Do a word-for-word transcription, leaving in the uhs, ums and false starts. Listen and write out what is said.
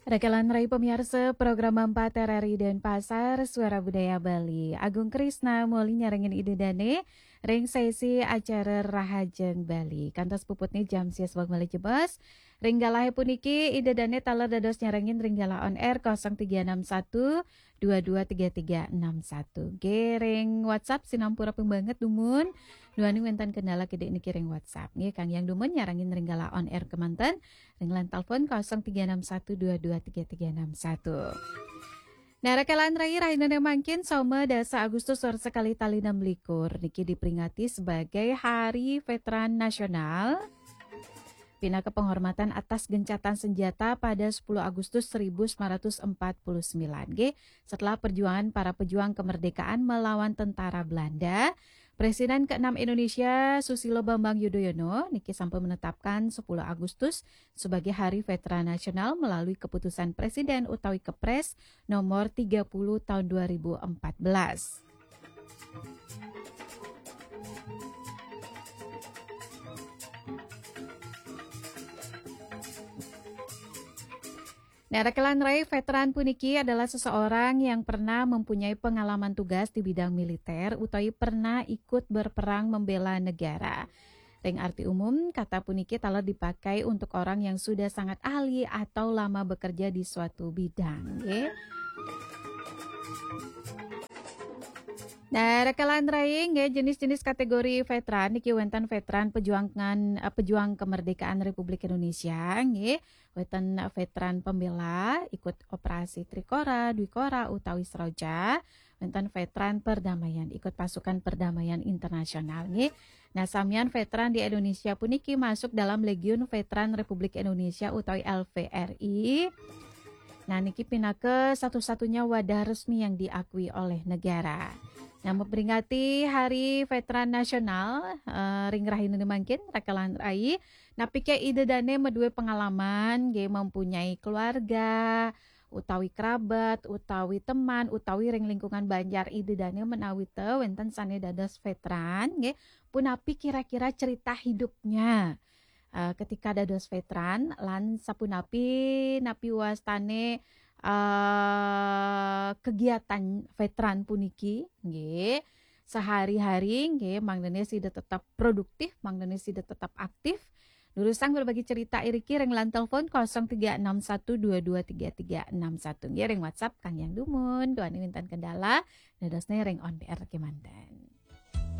Rakalan rai pamiarsa program empat R R I Denpasar, Suara Budaya Bali. Agung Krisna moli nyarengin Ida Dane ring sesi acara Rahajeng Bali. Kantos puputne jam sias wau malih jebos. Ring galahe puniki Ida Dane taler dados nyarengin ring galah on air kosong tiga enam satu dua dua tiga tiga enam satu. Nggih, ring WhatsApp sinampura ping banget dumun. Duaning wenten kendala kidik niki ring WhatsApp. Nggih, kangge yang dumun nyarengin ring galah on air kemanten ring line telepon kosong tiga enam satu dua dua tiga tiga enam satu. Nah, rakalan rai, rahinane mangkin Soma dasa Agustus warsa kalih tali enam likur niki diperingati sebagai Hari Veteran Nasional. Pinaka penghormatan atas gencatan senjata pada sepuluh Agustus seribu sembilan ratus empat puluh sembilan, nggih, setelah perjuangan para pejuang kemerdekaan melawan tentara Belanda, Presiden keenam Indonesia Susilo Bambang Yudhoyono niki sampun menetapkan sepuluh Agustus sebagai Hari Veteran Nasional melalui keputusan Presiden utawi Kepres nomor tiga puluh tahun dua ribu empat belas. Nah, rakalan rai, veteran puniki adalah seseorang yang pernah mempunyai pengalaman tugas di bidang militer utawi pernah ikut berperang membela negara. Ring arti umum, kata puniki taler dipakai untuk orang yang sudah sangat ahli atau lama bekerja di suatu bidang, nggih. Nah, rakalan rai, nggih, jenis-jenis kategori veteran niki wenten veteran pejuangan, eh, pejuang kemerdekaan Republik Indonesia, nggih. Wenten veteran pembela ikut operasi Trikora, Dwikora utawi Seroja. Wenten veteran perdamaian ikut pasukan perdamaian internasional, nggih. Nah, samian veteran di Indonesia puniki masuk dalam Legiun Veteran Republik Indonesia utawi L V R I. Nah, niki pinaka satu-satunya wadah resmi yang diakui oleh negara. Nah, memperingati Hari Veteran Nasional, eh, ring rahinane mangkin, rakalan rai, napike Ida Dane madue pengalaman, nggih, mempunyai keluarga, utawi kerabat, utawi teman, utawi ring lingkungan banjar Ida Dane menawi te wenten sane dados veteran, nggih, punapi kira-kira cerita hidupnya, eh, ketika dados veteran, lan sapunapi napi wastane, eh, kegiatan veteran puniki, nggih, sehari-hari, nggih, mangdane sida tetap produktif, mangdane sida tetap aktif. Durusang berbagi cerita iriki ring line telepon kosong tiga enam satu dua dua tiga tiga enam satu, nggih, ring WhatsApp kang yang dumun, duaning wenten kendala, dadosne ring on air kemanten.